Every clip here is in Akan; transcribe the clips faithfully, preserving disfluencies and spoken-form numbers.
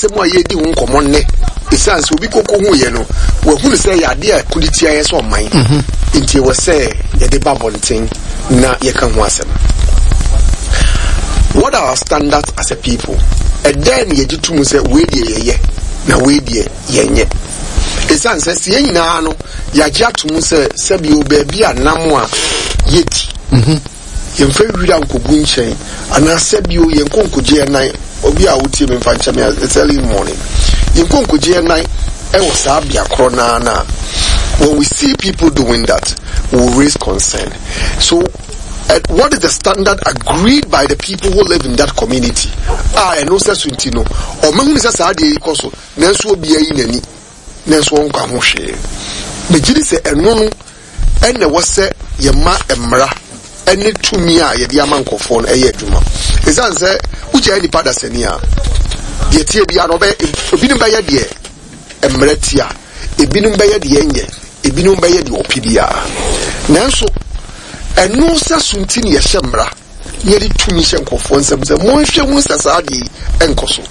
Asɛm a yɛredi ho nkɔmmɔ nnɛ, ɛsiane sɛ obi koko hu yɛ no, wahunu sɛ yɛ adeɛ a ɛko de tia yɛ sɛ ɔman, nti ɛwɔ sɛ yɛde ba abɔnten na yɛka ho asɛm. What are our standards as a people? Ɛdɛn na yɛgye to mu sɛ wei deɛ yɛyɛ na wei deɛ yɛnyɛ? Ɛsiane sɛ sɛ yɛn nyinaa no yɛagye ato mu sɛ sɛbio baabi a nam a yɛdi, yɛmfa wira nkɔgu nkyɛn, anaasɛ bio yɛnkɔ nkɔgye yɛn nan. Obi a wotie me, mfa nkyɛn me, it's early morning, yɛnkɔ nkɔgye yɛn nan ɛwɔ saa bea korɔ naa na when we see people doing that, we will raise concern. So uh, what is the standard agreed by the people who live in that community a ɛno sɛ so nti no ɔmahunu sɛ saa adeɛ yi kɔ so, nanso obiara yi n'ani nanso ɔnka ho hwee? Megye di sɛ ɛno no ɛna ɛwɔ sɛ yɛma mmara ɛne tumi a yɛde ama nkɔfoɔ no ɛyɛ adwuma, ɛsiane sɛ wogyae nipa dasani a deɛ tie biara no ɔbɛyɛ. Ebinom bɛyɛ deɛ mmerɛ tia, ebinom bɛyɛ deɛ ɛnyɛ, ebinom bɛyɛ deɛ ɔpɛ biara, nanso ɛno sɛ so nti ne yɛhyɛ mmara na yɛde tumi hyɛ nkɔfoɔ nsɛm sɛ monhwɛ hu sɛ saa adeɛ yi ɛnkɔ so.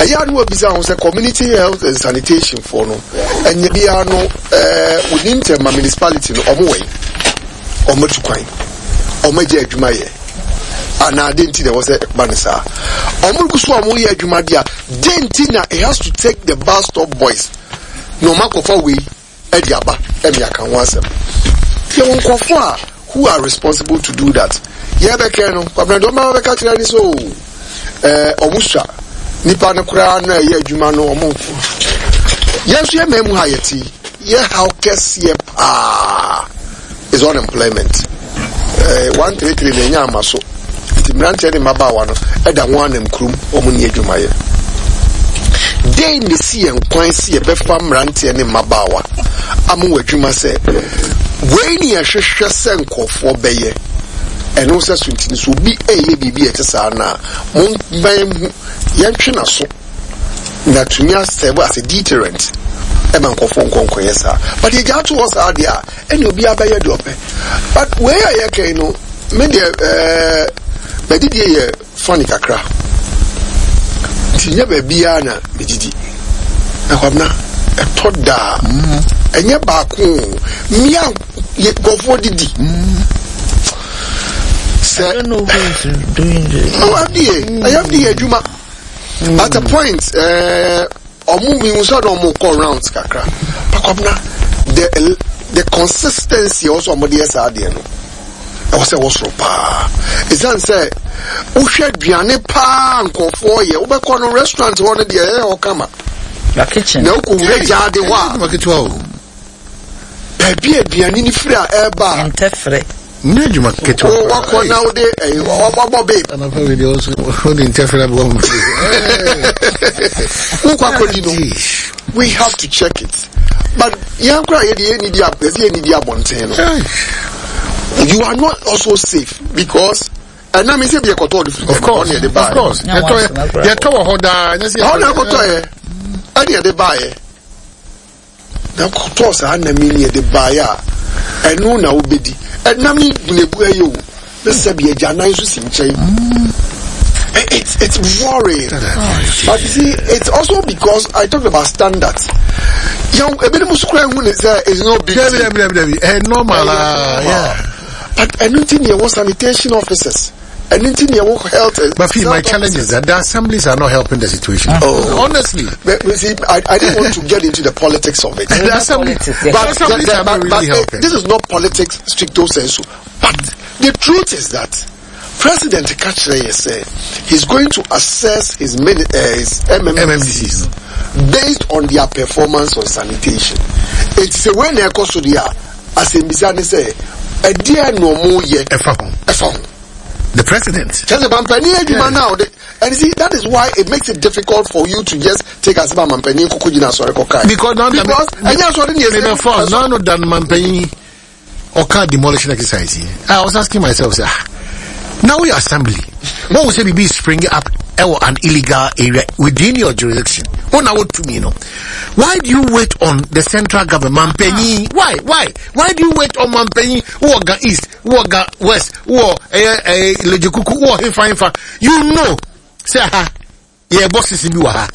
Ɛyɛ a ne wabisa ho sɛ community health and sanitation foɔ no ɛnyɛ biara no ɛɛ within Tema Municipality no, ɔmo wɛn ɔmo atu kwan, ɔmo agye adwuma yɛ anaa? De nti na ɛwɔ sɛ ɛba ne saa ɔmo gu so a ɔmo yɛ adwuma deɛ a, de nti na it has to take the Bus Stop Boys na ɔmo akɔfa wei ɛde aba ɛmi aka ho asɛm? Yɛwɔ nkurɔfoɔ a who are responsible to do that. Yɛbɛkɛ no, Kwabena, deɛ ɔma bɛka kyerɛ ne sɛ o ɛɛ ɔmo sua nipa no koraa na ɛyɛ adwuma no ɔmo nko. Yɛn nso yɛ mmaa mu ha yɛte yɛ haw kɛseɛ paa is unemployment. ɛɛ one three three na ɛnya ama so nti mmeranteɛ ne mmabaawa no ɛda ho anam kurom, wɔn ni adwumayɛ. Den na esi yɛn kwan si yɛbɛfa mmeranteɛ ne mmabaawa ama wɔ adwuma sɛ wei ne yɛhwehwɛ sɛ nkɔfoɔ bɛyɛ ɛno sɛ so nti so obi ɛyɛ biribi a ɛte saa na mo mbɛn hu yɛntwe n'aso na tumi asɛbo as a deterrent ɛma nkɔfoɔ nkɔnkɔyɛ saa. But yɛgya ato hɔ saa deɛ a, ɛne obiara bɛyɛ deɛ ɔpɛ. But wei a yɛka yi no, me deɛ ɛɛ mɛdidie yɛ funny kakra nti nyɛ baabiara na medidi. Na Kwabena, ɛtɔ daa ɛnyɛ baako o, mmea yɛ nkɔfoɔ didi sɛ I don't know who is doing this. Oh, F D A, ɛyɛ F D A adwuma. At a point, ɛɛ ɔmo mihu sɛ na ɔmo kɔ rounds kakra. Pakwabena, the the consistency ɔsɔ ɔmo de yɛ saa adeɛ no, ɛwɔ sɛ ɛwɔ soro paa. Ɛsiane sɛ wohwɛ aduane paa nkɔfoɔ yɛ, wobɛkɔ no restaurant hɔ no deɛ, ɛyɛ hɔ kama. Your kitchen. Na wokɔ wura gyaade hɔ a, adwuma ketewa o. Baabi a aduane no firi a ɛreba a, Ntɛfrɛ. Nyɛ adwuma ketewa. Wo wakɔ na wode ɛyi wabɔ babe. Anapa wei deɛ ɔso wode ntɛfrɛ aboa mu. Wokɔ akɔdi no, we have to check it. But yɛn kora yɛde yɛn nidi ab yɛsɛ yɛn nidi abɔnten no, you are not also safe because ɛnam sɛ bi ɛkɔtɔ ɔde firi Of course. ɔne yɛde Of baayɛ. course. Yɛtɔ yɛtɔ wɔ hɔ daa, nyɛ sɛ ɔne ɛkɔtɔ yɛ ɛne yɛde baayɛ na kɔtɔ saa nam yi ne yɛde baayɛ a, ɛno na wobɛdi. Ɛnam yi gunebu ɛyɛ o ne sɛ bi agya nan nso si nkyɛn. It's it's worrying, but you see, it's also because I talked about standards. Yɛn ebinom nso kura ehu ne sɛ it's no big Dabi, deal. dabi, dabi, dabi, ɛyɛ normal ah, yeah. But ɛno nti ni yɛwɔ sanitation officers, ɛno nti ni yɛwɔ health. But feel, my health challenge officers. is that the assemblies are not helping the situation. Oh. Honestly. But you see, I, I didn't want to get into the politics of it. The assembly, Politics, the yeah. But, assemblies the- are but, not but really eh, helping. this is not politics stricto sensu. But the truth is that President ka kyerɛ sɛ he's going to assess his, mini, uh, his M M D Cs based on their performance on sanitation. It's a when they so there, asɛmmisa ne sɛ ɛdeɛ na ɔmo yɛ Ɛfa ho. Ɛfa ho. The president. Kyerɛ sɛ mampanin adwuma now de, and you see, that is why it makes it difficult for you to just take asɛm a mampanin koko gyina asɔre kɔkae. Because now because ɛnyɛ asɔre ne Maybe yɛ for now no dan mampanyin ɔka demolition exercise yi. I was asking myself, say, ah, now we assembly. What will say be springing up ɛwɔ an illegal area within your jurisdiction? Oh, now what to me, no? Why do you wait on the central government? Mampanyin, why? Why? Why do you wait on mampanyin? Who are Ga East? Who are Ga West? Who are eh eh Ledzokuku? Who are Hefa Hefa? You know, say ha, yeah, bosses bi wɔ ha.